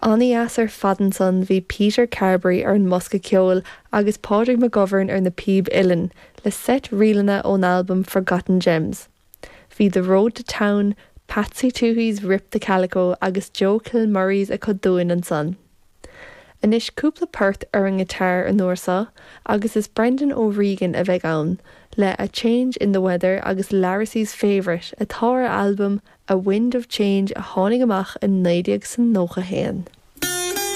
An-dheas ar fad ansan bhí Peter Carberry ar an mbosca ceoil agus Pádraig McGovern ar na píb uilleann, le seit ríleanna ón albam Forgotten Gems. Bhí The Road to Town, Patsy Touhey's Rip the Calico agus Joe Kilmurry's acu dúinn ansan. Anois cúpla port ar an ngiotár an uair seo agus is Brendan O'Regan a bheidh ann, le A Change in the Weather agus Larrissy's Favourite atá ar albam A Wind of Change a tháinig amach i 1991.